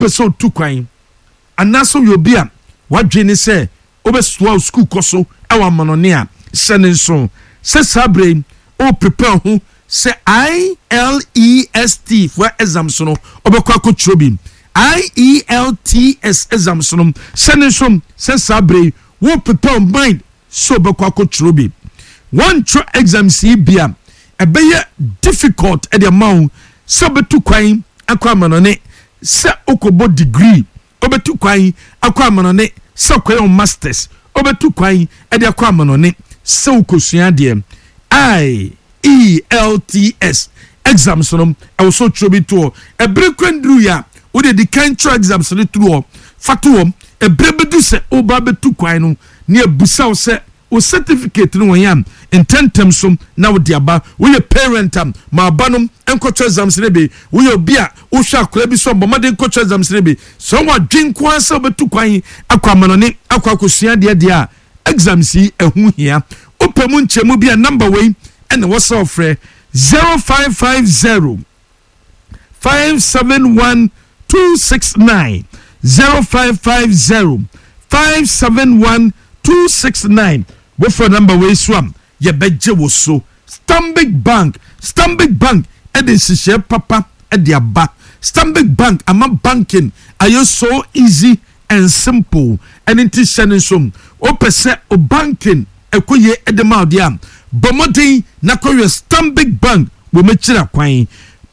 Wopɛ sɛ otu kwan anaasɛ woyɛ obi a w'adwene ne sɛ wobɛsoa wo sukuu kɔ so wɔ amanɔne a, hyɛ no nsow sɛ saa bere yi woreprepare ho sɛ IELTS foɔ exams no wobɛkɔ akɔtwerɛ bi. IELTS exams no, hyɛ no nsow sɛ saa bere yi woreprepare wo mind sɛ wobɛkɔ akɔtwerɛ bi. Woantwerɛ exams yi bi a, ɛbɛyɛ difficult de ama wo sɛ wobɛtu kwan akɔ amanɔne sɛ wokɔbɔ degree, wobɛtu kwan akɔ amanɔne sɛ wokɔyɛ wo masters, wobɛtu kwan de akɔ amanɔne sɛ wokɔsua adeɛ. IELTS exams no, ɛwɔ sɛ wotwerɛ bi to hɔ. Ɛberɛ kura nduruiɛ a, wode di kan twerɛ exams no to hɔ, fa to hɔ. Ɛberɛ bɛdu sɛ woba abɛtu kwan no, ne abisa wo sɛ Wo certificate no wɔ he a, ntɛntɛm so na wode aba. Woyɛ parent a, ma aba no nkɔtɔ exams no bi. Woyɛ obi a wohwɛ akwadaa bi so a, bɔ mmɔden kɔtɔ exams no bi. Sɛ wowɔ adwene nko ara sɛ wobɛtu kwan akɔ amanɔne akɔ akɔsua adeɛ deɛ a, exams yi ɛho hia. Wopɛ mu nkyɛmu bi a, number wei na ɛwɔ sɛ wofrɛ, 0550. 571 269 0550 571 269 wofrɛ namba wei so a yɛbɛgye wo so. Stanbic Bank Stanbic Bank de nhyehyɛe papa de aba. Stanbic Bank ama banking ayɛ so easy and simple. Ɛno nti hyɛ no nso, wopɛ sɛ wo banking ɛkɔ yie de ma wo deɛ a, bɔ mmɔden na kɔhwɛ Stanbic Bank wɔ m'akyiri akwan.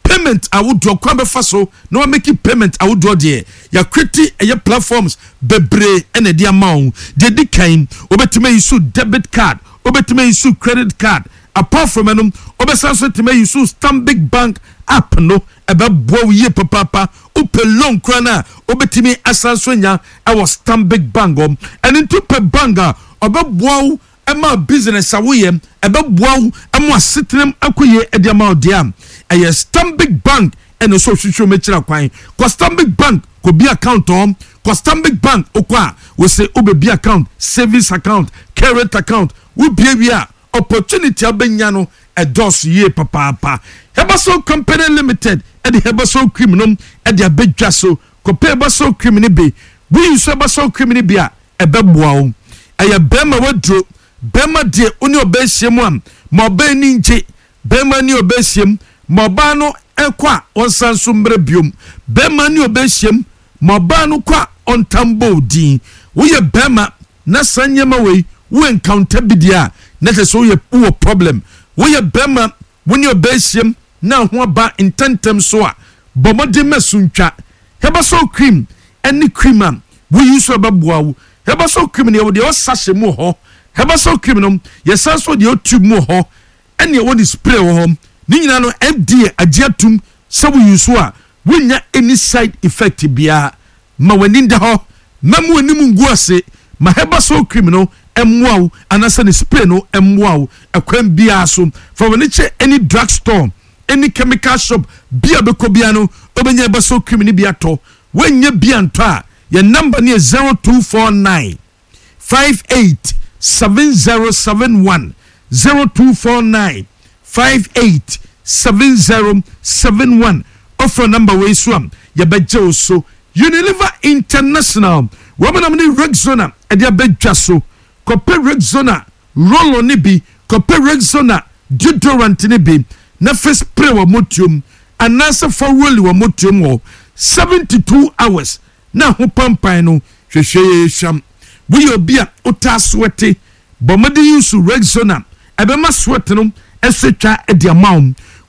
Payment ahodoɔ, kwan bɛfa so na wa make payment ahodoɔ deɛ, yɛakreti ɛyɛ platforms bebree ɛna ɛde ama wo. Deɛ ɛdi kan, wobɛtumi ayi so debit card, wobɛtumi ayi so credit card. Apart from ɛno, wobɛsan so atumi ayi so Stanbic Bank app no, ɛbɛboa wo yie papaapa. Wopɛ loan koraa no a, wobɛtumi asan so anya ɛwɔ Stanbic Bank hɔ. Ɛno nti wopɛ bank a ɔbɛboa wo ɛma business a woyɛ, ɛbɛboa wo ɛmo asetenam akɔ yie ɛde ama wo deɛ a, ɛyɛ Stanbic Bank ɛna ɛsɛ ɔhwehwɛ mu akyira kwan. Kɔ Stanbic Bank kɔ bi account hɔ. Kɔ Stanbic Bank wokɔ a, wose wobɛbi account, savings account, current account, wobie wie a, opportunity a wobɛnya no ɛdɔɔso yie papaapa. Herbasol Company Limited ɛde Herbasol cream no ɛde abɛdwa so. Kɔpɛ Herbasol cream no bi. Woyi nso Herbasol cream no bi a, ɛbɛboa wo. Ɛyɛ bɛrima waduro. Bɛrima deɛ wo ne ɔbaa hyia mu a, ma ɔbaa ani ngye. Bɛrima ne ɔbaa hyia mu, ma ɔbaa no kɔ a ɔnsan nso mmra biom. Bɛrima ne ɔbaa hyia mu, ma ɔbaa no kɔ a ɔntam bɔ wo din. Woyɛ bɛrima na saa nneɛma wei wo encounter bi deɛ a, na kyerɛ sɛ woyɛ wowɔ problem. Woyɛ bɛrima, wo ne ɔbaa hyia mu na ho aba ntɛmntɛm so a, bɔ mmɔden ma so ntwa. Herbasol cream ne cream a woyi nso ɛbɛboa wo. Herbasol cream no yɛwɔ deɛ ɛwɔ sachet mu wɔ hɔ. Herbasol cream no yɛsan nso wɔ deɛ ɛwɔ tube mu wɔ hɔ ɛne ɛwɔ ne spray wɔ hɔ. Ne nyinaa no FDA agye atum sɛ woyi nso a wonnya any side effect biara. Ma w'ani nda hɔ, mma w'anim ngu ase. Ma Herbasol cream no mmoa wo anaasɛ ne spray no mmoa wo ɛkwan biara so. Fa w'ani kyerɛ any drug store, any chemical shop bi a wobɛkɔ biara no wobɛnya Herbasol cream no bi atɔ. Woannya bi antɔ a, yɛn number no yɛ 0249 58 7071, 0249 58 7071. Wofrɛ number wei so a, yɛbɛgye wo so. Unilever International, wɔn nam ne Rexona de abɛdwa so. Kɔpɛ Rexona roll-on no bi, kɔpɛ Rexona deodorant no bi na fa spray wɔ motuom anaasɛ fa roll wɔ motuom hɔ 72 hours na ho pampan no hwehwɛ hwam. Woyɛ obi a wotaa sweate, bɔ mmɔden use Rexona, ɛbɛma sweat no so atwa de ama wo.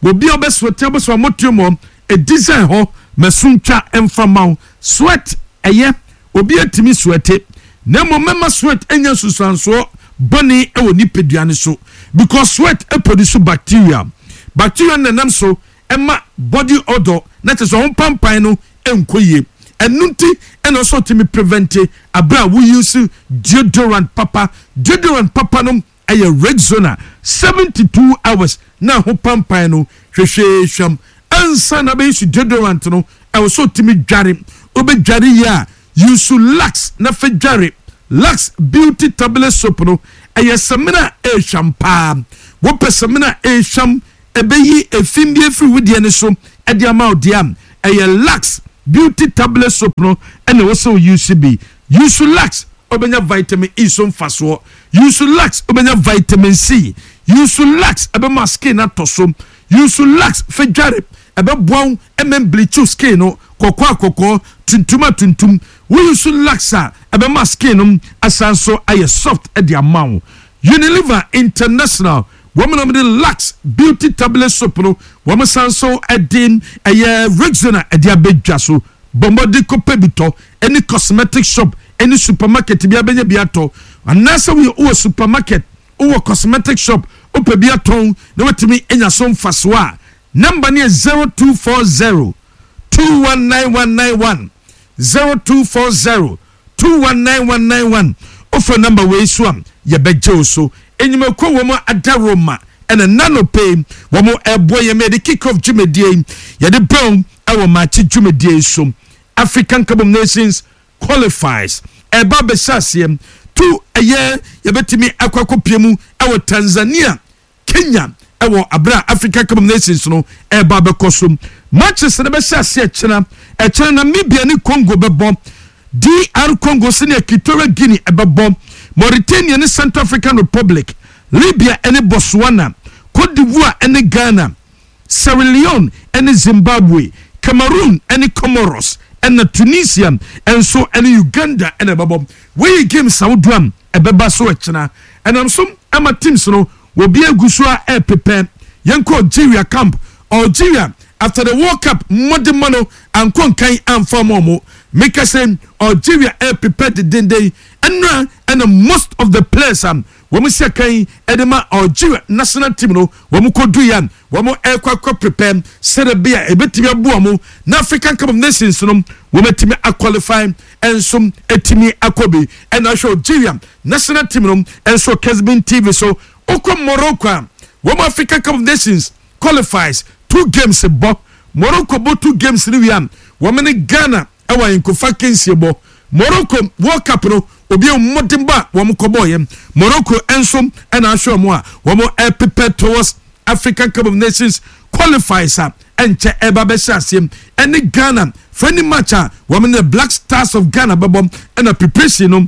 Wɔ obi a wobɛsweate a wobɛsɔ motuom hɔ, design hɔ ma so ntwa mfa ma wo. Sweat ɛyɛ Obi atumi sweate, na mmom mɛma sweat anya nsusuansoɔ bɔne wɔ nipadua no so because sweat produce bacteria. Bacteria no na ɛnam so ma body odor na kyerɛ sɛ ho pampan no nkɔ yie. Ɛno nti ɛna ɔsɛ ɔtumi prevent abere a wo use deodorant papa. Deodorant papa no ɛyɛ Rexona 72 hours na ho pampan no hwehwee hwam. Ansa na bɛyi so deodorant no, ɛwɔ sɛ otumi dware. Wobɛdware yie a, use Lux na fa dware. Lux Beauty Tablet Soap no, ɛyɛ samina a ɛrehwam paa. Wopɛ samina a ɛrehwam, ɛbɛyi efi bi afiri wo deɛ no so de ama wo deɛ a, ɛyɛ Lux. Beauty Tablet Soap no ɛna ɛwɔ sɛ wo use bi. Use Lux wobɛnya vitamin E so mfasoɔ. Use Lux wobɛnya vitamin C. Use Lux ɛbɛma skin atɔ so. Use Lux fɛ dware ɛbɛboa wo ɛmɛ bleach wo skin no kɔkɔɔ a kɔkɔɔ, tuntum a tuntum. Wo use Lux a ɛbɛma skin no asan so ayɛ soft de ama wo. Unilever International wɔn na wɔde Lux Beauty Tablet Soap no wɔn san so de ɛyɛ Rexona ɛde abɛdwa so. Bɔ mmɔden kɔpɛ bi tɔ ɛne cosmetic shop ɛne supermarket bi abɛnya bi atɔ anaasɛ woyɛ wowɔ supermarket wowɔ cosmetic shop wopɛ bi atɔn na watumi anya so mfasoɔ a number no yɛ 0240 219191 0240 219191 wofrɛ number wei so a yɛbɛgye wo so. Enyimako wɔn adaworoma ɛna nano pay wɔn ɛboɔ yɛn yɛde kick off dwumadie yi yɛde bɛn ɛwɔ maakye dwumadie yi so. African Cup of Nations qualifiers ɛba bɛhyɛ aseɛ tu ɛyɛ yɛbɛtumi akɔ akɔpie mu ɛwɔ Tanzania, Kenya ɛwɔ abere a African Cup of Nations no ɛba bɛkɔ so. Matches no bɛhyɛ aseɛ ɛkyena ɛkyena. Namibia ne Congo bɛbɔ, DR Congo sɛnea Equatorial Guinea ɛbɛbɔ, Mauritania ne Central African Republic, Libya ɛne Botswana, Cote d'Ivoire ɛne Ghana, Sierra Leone ɛne Zimbabwe, Cameroon ɛne Comoros, ɛna Tunisia ɛnso ɛne Uganda ɛna ɛbɛbɔ. Wɔyi games ahodoɔ a ɛbɛba so ɛkyena ɛnam so ama teams no wɔbi egu so a ɛɛpepɛ. Yɛnkɔ Algeria camp. Algeria after the World Cup mmɔdemmɔ no ankɔ nkan amfa ɔmo ɔmo meka sɛ Algeria ɛɛpepɛ dedenden. Ɛnura ɛna most of the players a wɔn si akan ɛde ma Algeria national team no wɔn kɔ du yɛ wɔn ɛkɔ akɔ prepare sɛdeɛ bi a ebetumi aboa wɔn na African Cup of Nations no wɔn atumi aqualify ɛnso etumi akɔ bi. Ɛna ahwɛ Algeria national team no ɛnso Kesbin TV so. Okɔ Morocco a wɔn African Cup of Nations qualifies two games bɔ. Morocco bɔ two games no wie a wɔn ne Ghana ɛwɔ ayinkofa kensie bɔ. Morocco World Cup no obi mmɔden bɔ a wɔn kɔ bɔɔ yɛ Morocco nso ɛna ahwɛ wɔn a wɔn ɛprepare towards African Cup of Nations qualifiers a ɛnkyɛ ɛba bɛhyɛ aseɛ ɛne Ghana friendly match a wɔn ne Black Stars of Ghana bɛbɔ. Ɛna preparation no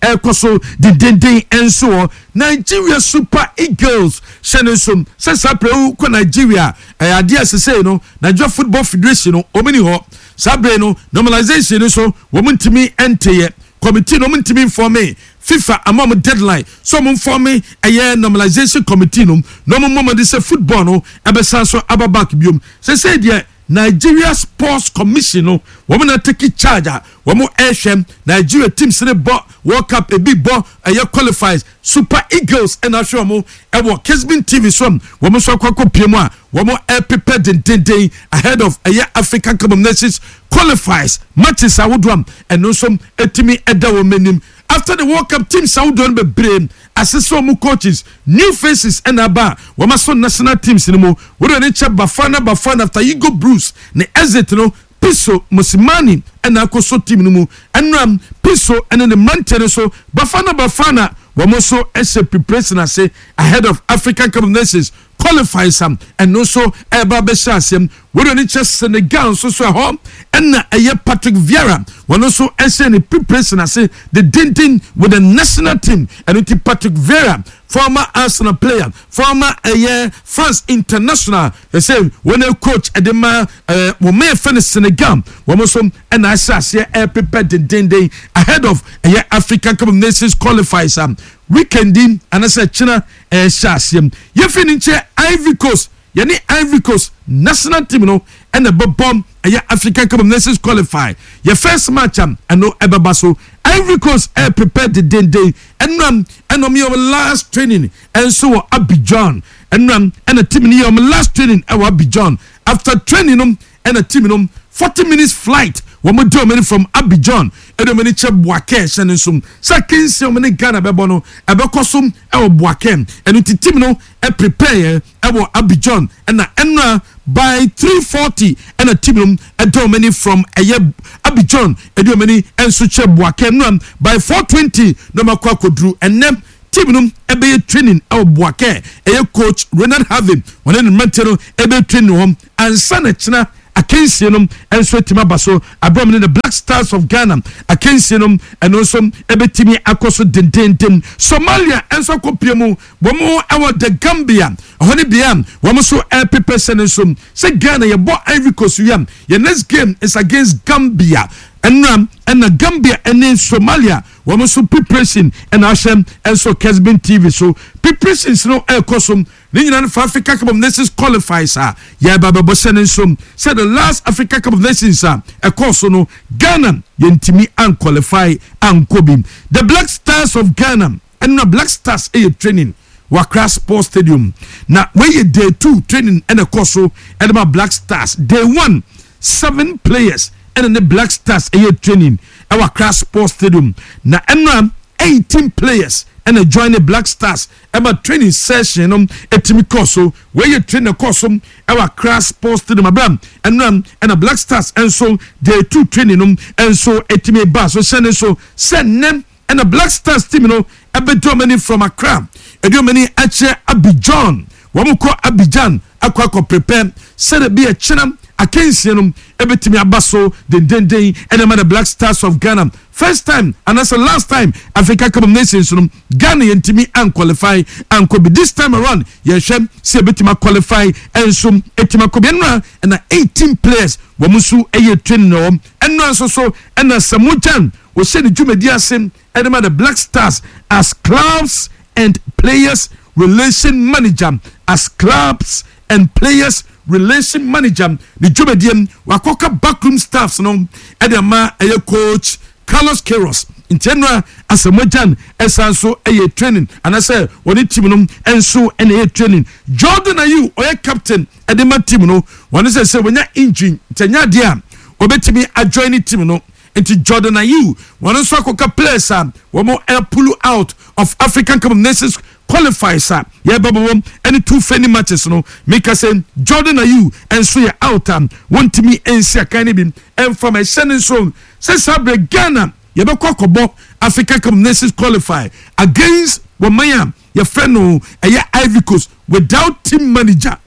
ɛkɔ so dendenden nso wɔ Nigeria. Super Eagles hyɛ ne nso sɛ saa pere kɔ Nigeria ɛyɛ adeɛ a sesei no Nigeria Football Federation no wɔn ni hɔ saa bere no. Normalization no so wɔn ntumi nteyɛ committee no, wɔn ntumi nform. FIFA ama wɔn deadline so wɔn nform ɛyɛ normalization committee no na wɔn mmɔmɔde sɛ football no ɛbɛsan so aba back biom. Sesei deɛ Nigeria Sports Commission no wɔn na take charge a wɔn ɛrehwɛ Nigeria teams ne bɔ World Cup ebi bɔ ɛyɛ qualifiers. Super Eagles ɛna ahwɛ wɔn ɛwɔ Kesbin TV so. Wɔn nso akɔ akɔ pie mu a wɔn ɛprepare dendenden ahead of ɛyɛ African Cup of Nations qualifiers matches ahodoɔ a ɛno nso ɛtumi ɛda wɔn anim. After the World Cup, teams ahodoɔ no bebree asese wɔn coaches, new faces ɛna aba a wɔn aso national teams no mu. Wɔde ne kyɛ Bafana Bafana after Hugo Broos ne exit no, Pitso Mosimane ɛna akɔ so team no mu. Ɛnura Pitso ɛne ne mmeranteɛ no so Bafana Bafana wɔn nso ɛhyɛ preparation ase ahead of African Cup of Nations qualifiers am ɛno nso ɛreba abɛhyɛ aseɛ. Wɔde ne kyɛ Senegal nso so ɛhɔ ɛna ɛyɛ Patrick Vieira wɔn nso ɛhyɛ ne preparation ase the dindin with the national team. Ɛno ti Patrick Vieira, former Arsenal player, former ɛyɛ France international, ɛsɛ wɔn coach ɛde ma wɔn mɛ fɛ no Senegal, wɔn nso ɛna ahyɛ aseɛ ɛprepare dendenden ahead of ɛyɛ African Cup of Nations qualifiers am weekend yi anasɛ kyena ɛhyɛ aseɛ. Yɛfi ne nkyɛn Ivory Coast, yɛne Ivory Coast national team no ɛna ɛbɛbɔ ɛyɛ African Cup of Nations qualify yɛ first match am ɛno ɛbɛba so. Ivory Coast ɛyɛ prepare dendenden. Ɛnam ɛna ɔmo yɛ ɔmo last training ɛnso wɔ Abidjan. Ɛnam ɛna team no yɛ ɔmo last training ɛwɔ Abidjan. After training no ɛna team no 40 minutes flight wɔn di wɔn ani from Abidjan ɛde wɔn ani kyɛ Bouake. Hyɛ ne nso sɛ kinsi wɔn ne Ghana bɛbɔ no ɛbɛkɔ so ɛwɔ Bouake. Ɛno ti team no ɛprepare yɛ ɛwɔ Abidjan ɛna ɛnura by 3:40 ɛna team no ɛde wɔn ani from ɛyɛ Abidjan ɛde wɔn ani ɛnso kyɛ Bouake. Ɛnura by 4:20 na wɔn akɔ akɔduru. Ɛnɛ team no ɛbɛyɛ training ɛwɔ Bouake. Ɛyɛ coach Renard Harvey wɔn ne mmeranteɛ no ɛbɛyɛ training hɔ ansa na kyena. Akansie no nso atumi aba so aberɛ a wɔne the Black Stars of Ghana akansie no ɛno nso ɛbɛtumi akɔ so dendenden. Somalia nso akɔpie mu wɔn wɔ the Gambia ɛhɔ ne bea a wɔn nso ɛrepepɛ hyɛ no nso sɛ Ghana yɛbɔ Ivory Coast wie a yɛn next game is against Gambia. Ɛnora ɛna Gambia ɛne Somalia wɔn nso preparation ɛna ahyɛ nso Kesbin TV so preparations no ɛrekɔ so. Ne nyinaa no fa Africa Cup of Nations qualifiers a yɛreba abɛbɔ hyɛ ne nso sɛ the last Africa Cup of Nations a ɛkɔɔ so no Ghana yɛntumi anqualify ankɔ bi. The Black Stars of Ghana ɛno na Black Stars ɛyɛ training wɔ Accra Sports Stadium na wei yɛ day 2 training ɛna ɛkɔ so ɛde ma Black Stars. Day 1 seven players ɛna ne Black Stars ɛyɛ training ɛwɔ Accra Sports Stadium na ɛno 18 players ɛna join ne Black Stars ɛma training session no ɛtumi kɔɔ so. Wei yɛ training ɛkɔɔ so ɛwɔ Accra Sports Stadium abira ɛnura ɛna Black Stars ɛnso day 2 training no ɛnso ɛtumi ba so. Hyɛ ne nso sɛ nnɛ ɛna Black Stars team no ɛbɛdi wɔn ani from Accra ɛdi wɔn ani akyerɛ Abidjan. Wɔn kɔ Abidjan akɔ prepare sɛdeɛ bi ɛkyerɛ akansie no ɛbɛtumi aba so dendenden ɛna ma the Black Stars of Ghana. First time anaasɛ last time Africa Cup of Nations no Ghana yɛntumi anqualify ankɔ bi. This time around yɛhwɛ sɛ yɛbɛtumi aqualify ɛnso ɛtumi akɔ bi. Ɛnora ɛna 18 players wɔn nso ɛyɛ training wɔ ɛnora nso so ɛna Asamoah Gyan wɔhyɛ ne dwumadi ase ɛde ma the Black Stars as clubs and players relation manager, as clubs and players relation manager ne dwumadie wakɔka backroom staffs no ɛde ama ɛyɛ coach Carlos Queiroz. Nti ɛnora Asamoah Gyan ɛsan so ɛyɛ training anaasɛ wɔne team no nso ɛna ɛyɛ training. Jordan Ayew ɔyɛ captain ɛde ma team no wɔne sɛ wɔnya injury nti ɛnyɛ adeɛ a wɔbɛtumi ajoin ne team no. Nti Jordan Ayew wɔn nso akɔka players a wɔn ɛpull out of African Cup of Nations qualifiers a yɛbɛbɔ wɔn ɛne two friendly matches no. Mika sɛ Jordan Ayew nso yɛ out a wɔntumi nsi akan no bi ɛnfam. Ɛhyɛ ne nso sɛ saa berɛ Ghana yɛbɛkɔ akɔbɔ African Cup of Nations qualify against wɔn man a yɛfrɛ no ɛyɛ Ivory Coast without team manager.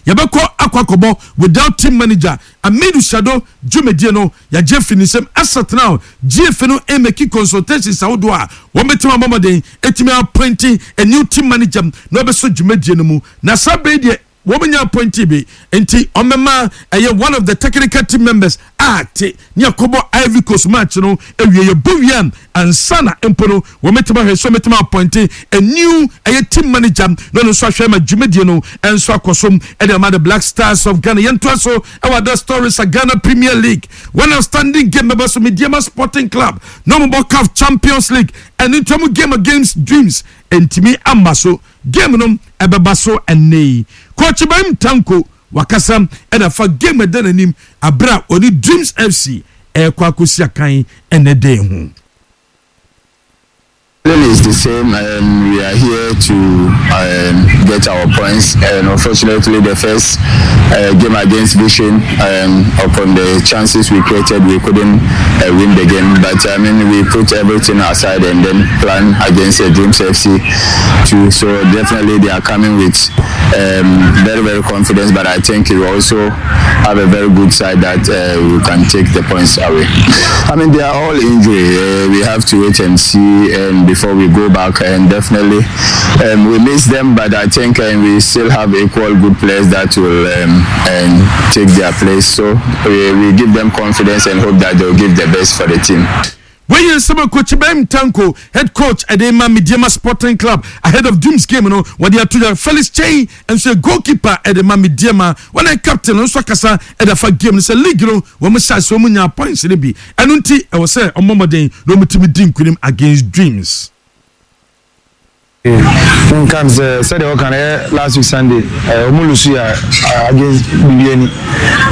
Yɛbɛkɔ akɔbɔ without team manager. Amidu Shado dwumadie no yɛagye firi ne nsam asatena GFA no ɛmake consultations ahodoɔ a wɔn bɛtumi abɔ mmɔden ɛtumi appointing a new team manager na ɔbɛso dwumadie no mu. Na saa bɛyi deɛ wɔn nya appointee bi nti ɔmɛma ɛyɛ one of the technical team members a te ne akɔbɔ Ivory Coast match no awie. Yɛbɔ wie a ansa na mpo no wɔn mɛtumi ahwɛ so mɛtumi appoint a new ɛyɛ team manager na ɔno nso ahwɛ ma dwumadie no ɛnso akɔ so ɛde ama the Black Stars of Ghana. Yɛntoa so ɛwɔ other stories a Ghana Premier League, one outstanding game bɛbɛ so. Medeama Sporting Club na wɔn bɔ CAF Champions League ɛne ntoa game against Dreams ntumi ama so. Game no ɛbɛba so ɛnɛ yi. Coach Ibrahim Tanko wakasa ɛna fa game ɛda n'anim abere a ɔne Dreams FC ɛrekɔ akɔsi akan ɛnɛ den ho. Feeling is the same. We are here to get our points, and unfortunately, the first game against Vision, upon the chances we created, we couldn't win the game. But I mean, we put everything aside and then plan against Dreams FC too. So definitely, they are coming with very, very confidence. But I think we also have a very good side that we can take the points away. I mean, they are all injury. We have to wait and see, and before we go back, and definitely we miss them, but I think we still have equal good players that will and take their place. So we give them confidence and hope that they'll give the best for the team. Wei nsɛm a coach Ibrahim Tanko, head coach ɛde ma Medeama Sporting Club ahead of Dreams game no wɔde ato dwa. Felix Chei nso yɛ goalkeeper ɛde ma Medeama, wɔn yɛ captain no nso akasa ɛde afa game no sɛ league no wɔn hyɛ ase wɔn nya points no bi ɛno nti ɛwɔ sɛ ɔmmɔ mmɔden na wɔn tumi di nkunim against Dreams. Nka sɛ sɛdeɛ wɔka no ɛyɛ last week Sunday ɔmo lose a against Bibiani,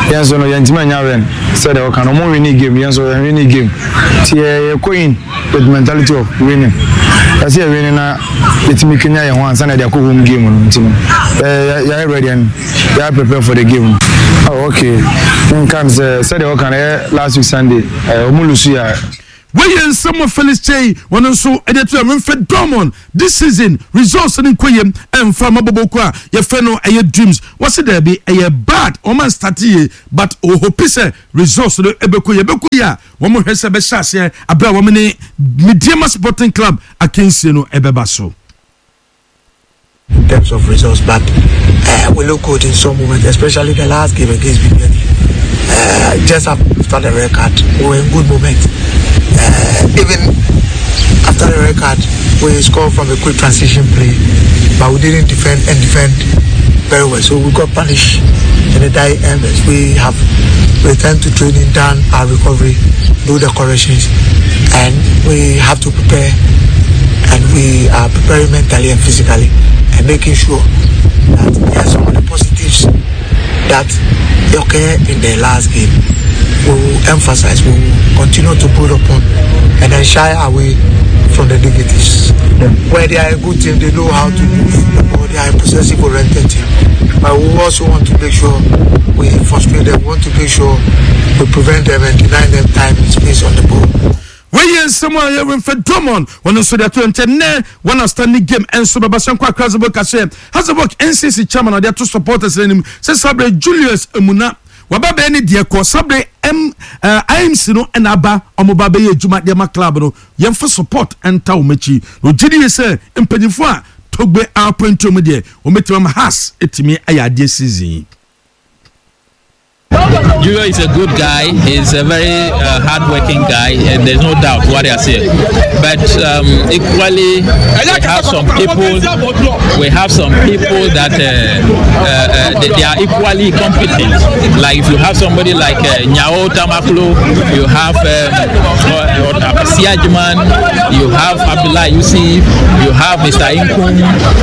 yɛn nso no yɛntumi anya win. Sɛdeɛ wɔka no ɔmo win game, yɛn nso yɛn win game, nti yɛ yɛkɔ in with mentality of winning. Yɛsɛ yɛ winning na yɛtumi kenya yɛn ho ansa na yɛde akɔ home game no. Nti no yɛayɛ ready and yɛayɛ prepare for the game. Oh, okay, nka sɛ sɛdeɛ wɔka no ɛyɛ last week Sunday ɔmo lose a. Wei Wɔyɛ nsɛm wɔ Felix Kyei wɔn nso de ato Winfred Dormon this season results no nkɔ yie ɛmfa ma bɔbɔkuo a yɛfrɛ no ɛyɛ Dreams. Wɔse daabi ɛyɛ bad wɔn anstarte yie but ɔhope sɛ results no ɛbɛkɔ yie. Ɛbɛkɔ yie a wɔn hwɛ sɛ ɛbɛhyɛ aseɛ aberɛ a wɔn ne Medeama Sporting Club akansie no ɛbɛba so. In terms of results, but we look good in some moments, especially the last game against Bibiani. Just after the red card, we were in good moment. Even after the red card, we scored from a quick transition play, but we didn't defend and defend very well. So we got punished in the dying embers. We have returned to training, done our recovery, do the corrections, and we have to prepare. And we are preparing mentally and physically and making sure that there are some of the positives that occur in the last game. We will emphasize, we will continue to build upon and then shy away from the negatives. Yeah. Where they are a good team, they know how to move the ball, they are a possessive oriented team. But we also want to make sure we frustrate them, we want to make sure we prevent them and deny them time and space on the ball. Wei yɛ nsɛm a yɛ Winfred Drummond wɔn nso de ato nkyɛn nnɛ wɔn outstanding game nso bɛba sɛ nkɔ Accra Hasselborg kaseɛ Hasselborg NCC chairman ɔde ato supporters no anim sɛ sabre Julius Amuna waba bɛyɛ ne deɛ kɔ sabre M uh, eh, IMC no ɛna aba wɔn ba bɛyɛ adwuma deɛ ma club no yɛmfa support ɛnta wɔn akyi na ogye die sɛ mpanyinfoɔ a Togbe appoint mu deɛ wɔn bɛtumi ama Hearts ɛtumi ayɛ adeɛ season yi. Julio is a good guy. He's a very hardworking guy, and there's no doubt what I say. But equally, we have some people. We have some people that they are equally competent. Like if you have somebody like Nyao Tamaklo, you have Siajman, you have Abdullah Yusuf, you have Mr. Inkum,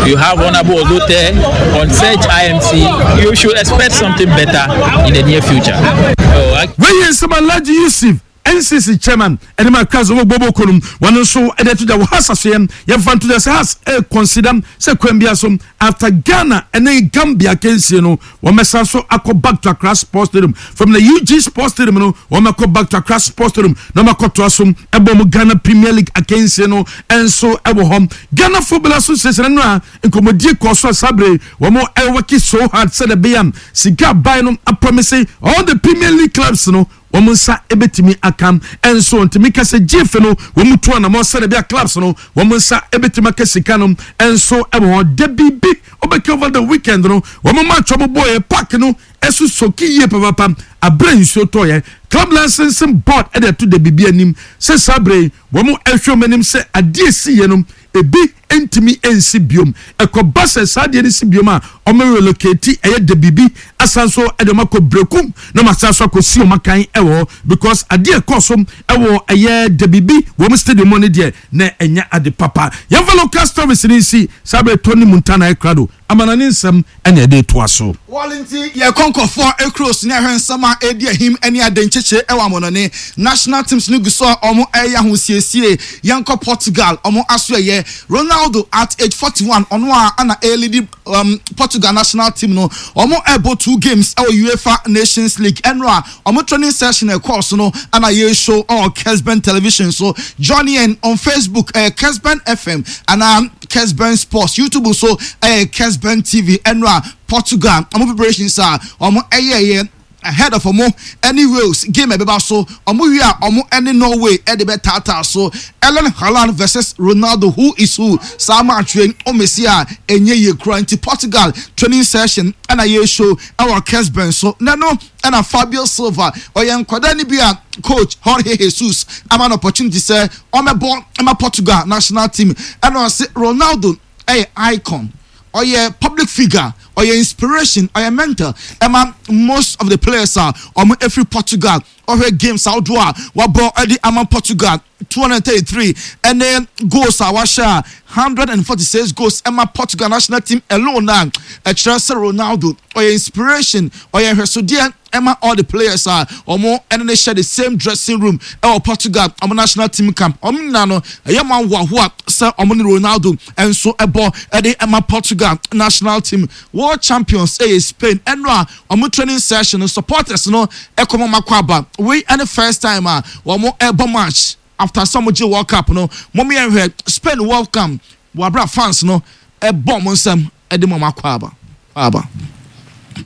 you have Honorable Ozote. On such IMC, you should expect something better in the near future. Oh, I- Wei yɛ nsɛm a Alhaji Yusuf, NCC chairman, ɛde ma Accra Zobo Bobo Konum, wɔn nso ɛde ato dwa wɔ Hearts asoɛm. Yɛmfa nto dwa sɛ Hearts ɛreconsider sɛ kwan biara so after Ghana ɛne Gambia akansie no, wɔbɛsan so akɔ back to Accra Sports Stadium. From the UG Sports Stadium no, wɔbɛkɔ back to Accra Sports Stadium na wɔakɔtoa so ɛbɔ wɔn Ghana Premier League akansie no nso ɛwɔ hɔ. Ghana Football Association no a nkɔmmɔdie kɔɔ so a saa bere wɔn ɛwɔki so hard sɛdeɛ ɛbɛyɛ a sika aban no apromise all the Premier League clubs no wɔn nsa ɛbɛtumi aka. Ɛnso ntumi ka sɛ GFA no wɔn tu anamɔ sɛdeɛ ɛbɛyɛ clubs no wɔn nsa ɛbɛtumi aka sika no ɛnso ɛwɔ hɔ. Da biribi wɔbɛka over the weekend no, wɔn match wɔn bɔɔyɛ park no ɛso soki yie papapa abere nsuo tɔɔyɛ. Club licensing board ɛde ɛto da biribi anim sɛ saa bere wɔn ɛhwɛ wɔn anim sɛ adeɛ si yɛ no ebi ntumi nsi biom. Ɛkɔba sɛ saa adeɛ no si biom a, wɔn relocate ɛyɛ da biribi asan so ɛde wɔn akɔ Brekum na wɔn asan so akɔsi wɔn akan ɛwɔ hɔ, because adeɛ ɛkɔ so ɛwɔ ɛyɛ da biribi wɔn stadium no deɛ na ɛnyɛ ade papa. Yɛmfa local stories no nsi saa bere tɔ ne mu nta na ɛkrado amana ne nsɛm ɛna ɛde toa so. Wɔle nti yɛkɔ nkɔfoɔ ekuro so ne ɛhwɛ nsɛm a edi ahim ne ade nkyekye ɛwɔ amɔnɔne. National teams no gu so a wɔn ɛyɛ ahosiesie. Yɛnkɔ Portugal, wɔn aso ɛyɛ Ronaldo at age 41, ɔno a ana ɛlead Portugal national team no. Wɔn ɛbɔ two games ɛwɔ UEFA Nations League. Ɛno a wɔn training session ɛkɔɔ so no ana yɛ show ɔwɔ Kesben Television so. Join yɛn on Facebook, ɛyɛ Kesben FM ana Kesben Sports. YouTube so ɛyɛ Kesben TV. Ɛno a Portugal wɔn preparations a wɔn ɛyɛɛyɛ ahead of ɔmo ɛne Wales game ɛbɛba so, ɔmo wie a ɔmo ɛne Norway ɛde bɛtaataa so. Erling Haaland versus Ronaldo, who is who? Saa match wei ɔmesi a ɛnyɛ yie kura. Nti Portugal training session ɛna yɛ show ɛwɔ Kesben so. Nɛno ɛna Fabio Silva, ɔyɛ nkwadaa ni bi a coach Jorge Jesus ama no opportunity sɛ ɔmɛbɔ ɛma Portugal national team, ɛna ɔse Ronaldo ɛyɛ icon, ɔyɛ public figure, ɔyɛ inspiration, ɔyɛ mentor ɛma most of the players a ɔmo efiri Portugal. Ɔhwɛ games ahodoɔ a wabɔ ɛde ama Portugal, 233, ɛne goals a wahyɛ a 146 goals ɛma Portugal national team alone na ɛkyerɛ sɛ Ronaldo ɔyɛ inspiration, ɔyɛ nhwɛsodeɛ ɛma all the players a ɔmo ɛne ne hyɛ the same dressing room ɛwɔ Portugal ɔmo national team camp. Ɔmo nyinaa no ɛyɛ mo ahoahoa sɛ ɔmo ne Ronaldo ɛnso ɛbɔ ɛde ɛma Portugal national team. World champions ɛyɛ Spain. Ɛno a ɔmo training session no, supporters no ɛkɔmɔ mako aba. Wei ɛne first time a wɔn ɛbɔ match. After sɛ ɔmo gye World Cup no, mo yɛn hwɛ Spain welcome wɔ abira fans no ɛbɔ ɔmo nsɛm ɛde mo ɔmo akɔ aba aba.